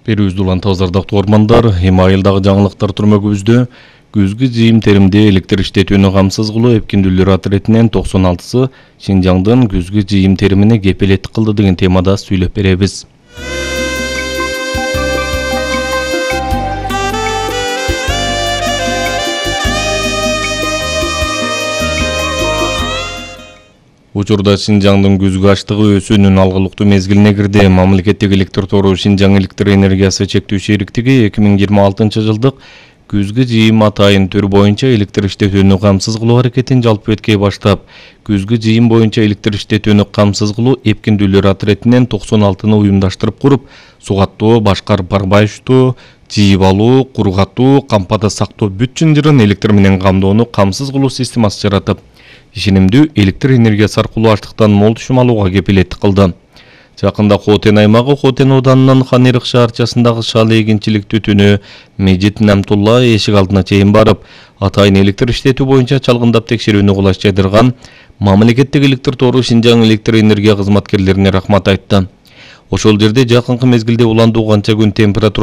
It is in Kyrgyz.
Берүүбүздү улан тазардактуу ормандар, эми айылдагы жаңылыктар түрмөгүбүздө күзгү жыйым теримде электр иштетүүнү камсыз кылуу эпкиндүүлөр иретинен 96сы Шинжаңдын күзгү жыйым теримине кепилеттик кылды деген темада сүйлөп беребиз. Учурда Шинжаңдын күзгү аштыгы өсүүнүн алгылыктуу мезгилине кирди. Мамлекеттик электр тору Шинжаң электр энергиясы чектүү шериктиги 2026 жылдык күзгү жыйым атайын түр боюнча электр иштетүүнү камсыз кылуу аракетин жалпы эткей баштап, күзгү жыйым боюнча электр иштетүүнү камсыз кылуу эпкиндүүлөр иретинен 96-ны уюмдаштырып куруп, сугаттоо, башкарып барбайыштоо, жыйып алуу, кургатуу, кампада сактоо бүт чынжырын электр менен камдоону камсыз кылуу системасы жаратып, ишенимдүү электр энергиясы аркылуу аштыктан мол түшүм алууга кепилеттик кылды. Жакында Хотен аймагы Хотен ауданынын Ханырык шаарчасындагы шал эгинчилик түтүнү Мejit Намтулла эшик алдына чейин барып, атайын электр иштетүү боюнча чалгындап текшерүүнү кулаш жайдырган мамлекеттик электр тору Шинжаң электр энергия кызматкерлерине рахмат айтты. Ошол жерде жакынкы мезгилде уландуу канча күн температура